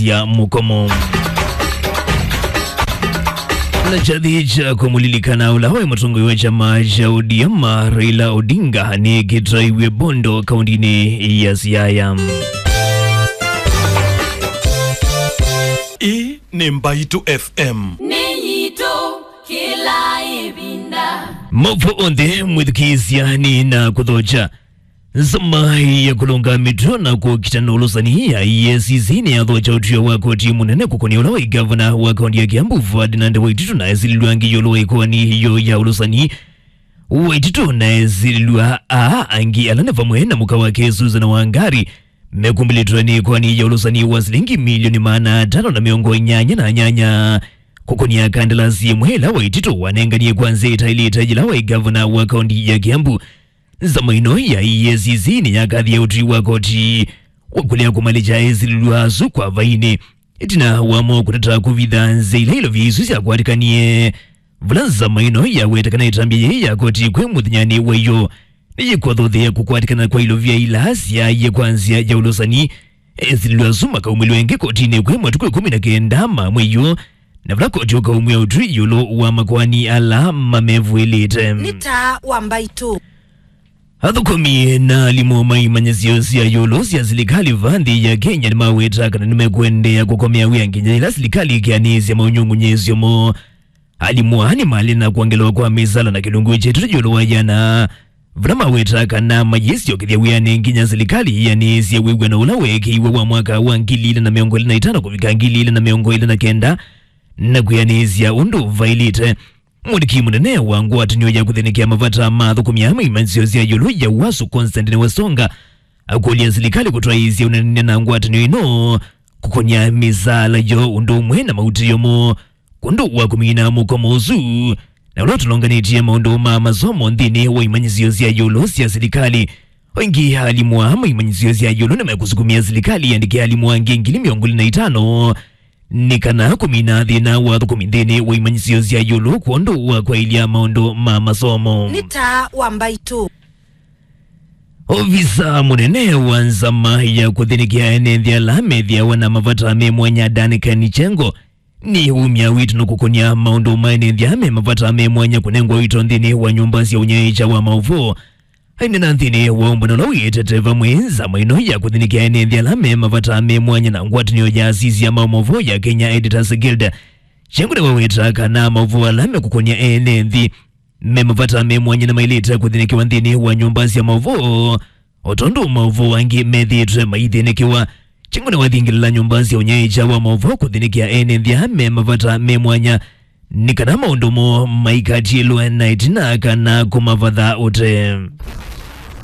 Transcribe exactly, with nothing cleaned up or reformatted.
ya mũkomo. Na kyathĩ kya kũmũlilikana ũla waĩ mũtongoi wa kyama kya O D M, Raila Odinga, nĩkĩtwaiw'e Bondo, kaũntĩnĩ ya Siaya. Ĩĩ nĩ Mbaitũ F M. Nĩ yitũ kĩla ĩvinda. Maũvoo onthe mwĩthukĩĩsya nĩ na kũthokya. Nzama ya kũlũnga mĩtuo na kũkita na ũlũsani ya E A C C nĩyathokya ũtw'ĩo wa koti mũnene kũkũnĩa ũla waĩ ngavana wa kaũntĩ ya Kiambu, Ferdinand Waititu, na esilĩlw'a angĩ ĩũlũ wa ĩkoani yoo ya ũlũsani. Waititu na esilĩlw'a aa angĩ ala nĩ vamwe na mũka wake Susan Wangari, mekumbĩlĩtwe nĩ ĩkoani ya ũlũsani wa silingi milioni maana atano na mĩongo ĩnyanya na nyanya kũkũnĩa kandalasi ĩmwe ĩla Waititu wanenganie kwa nzĩa ĩtaĩlĩte yĩla waĩ ngavana wa kaũntĩ ya Kiambu. Nzama ĩno ya E A C C nĩyakathie ũtwi wa koti wa kũlea kũmalĩkya esilĩlw'a asu kwa vainĩ, ĩtina wa mo kũtata kũvitha nzĩa ila ilovia isu syakwatĩkanie. Vala nzama ĩno yaweta kana ĩtambya yĩĩ ya koti kwĩ mũthenyanĩ wa ĩyo nĩyĩkwathũthĩa kũkwatĩkana kwa ilovia ila syaaie kwa nzĩa ya ũlũsani, esilĩlw'a asu makaumĩlw'a ĩngĩ kotinĩ kwĩ matukũ ĩkũmi na kenda ma mwei ũũ, na vala koti ũkaumw'a ũtwi ĩũlũ wa makoani ala mamevũĩlĩte. Nĩ taa wa Mbaitũ. Athũkũmi na alimũ ma imanyĩsyo sya ĩũlũ sya silikalĩ vaa nthĩ ya Kenya nĩmaweta kana nĩmekũendeea kũkomea wĩa nginya yĩla silikalĩ ĩkeanĩĩsya maũnyungunyĩĩsyo moo. Alimũ aa nĩmalĩ na kwongelwa kwa mĩsala na kĩlungu kya ĩtatũ ĩũlũ wa ĩana, vala maweta kana mayĩsyokethya wĩanĩ nginya silikalĩ yĩanĩĩsye wĩw'ano ũla weekĩiwe wa mwaka wa ngili ilĩ na mĩongo ĩlĩ na itano kũvika ngili ilĩ na mĩongo ĩlĩ na kenda, na kwĩanĩĩsya ũndũ vaĩlĩte. Mwandĩki mũnene wa ngwatanĩo ya kũthĩnĩkĩa mavata ma athũkũmi aa ma imanyĩsyo sya ĩũlũ ya Wasu, Constantine Wasonga, akũlya silikalĩ kũtwaĩĩsya ũneenany'a na ngwatanĩo ĩno kũkũnĩa mĩsaala yoo ũndũ ũmwe na mautĩĩo moo kwondũ wa kũmina mũkomo ũsu, na ũla ũtũlonganĩtye maũndũ ma masomo nthĩnĩ wa imanyĩsyo sya ĩũlũ sya silikalĩ. O ĩngĩ, alimũ aa ma imanyĩsyo sya ĩũlũ nĩmekũsukumĩa silikalĩ yĩandĩke alimũ angĩ ngili mĩongo ĩlĩ na itano nĩ kana kũmina thĩna wa athũkũmi nthĩnĩ wa imanyĩsyo sya ĩũlũ kwondũ wa kwaĩlya maũndũ ma masomo. Nĩ taa wa Mbaitũ. Ovisa mũnene wa nzama ya kũthĩnĩkĩa ene nthĩ ala methĩawa na mavata me mwanya, Dan Kanichengo, nĩ umya wĩtano kũkũnĩa maũndũ ma ene nthĩ ala me mavata me mwanya kũnengwa ũito nthĩnĩ wa nyũmba sya ũnyaĩĩkya wa maũvoo. Aineena nthĩnĩ wa ũmbano ũla wĩtete vamwe nzama ĩno ya kũthĩnĩkĩa ene nthĩ ala me mavata me mwanya na ngwatanĩo ya asisya ma maũvoo ya Kenya Editors Guild, Kanichengo nĩwaweta kana maũvoo ala mekũkũnĩa ene nthĩ me mavata me mwanya nĩmaĩlĩte kũthĩnĩkĩwa nthĩnĩ wa nyũmba sya maũvoo, o tondũ maũvoo angĩ methĩĩtwe maithĩnĩkĩwa. Kanichengo nĩwathingĩlĩla nyũmba sya ũnyaĩĩkya wa maũvoo kũthĩnĩkĩa ene nthĩ ala me mavata me mwanya nĩ kana maũndũ moo maikatiĩlwe na ĩtina kana kũmavatha ũtee.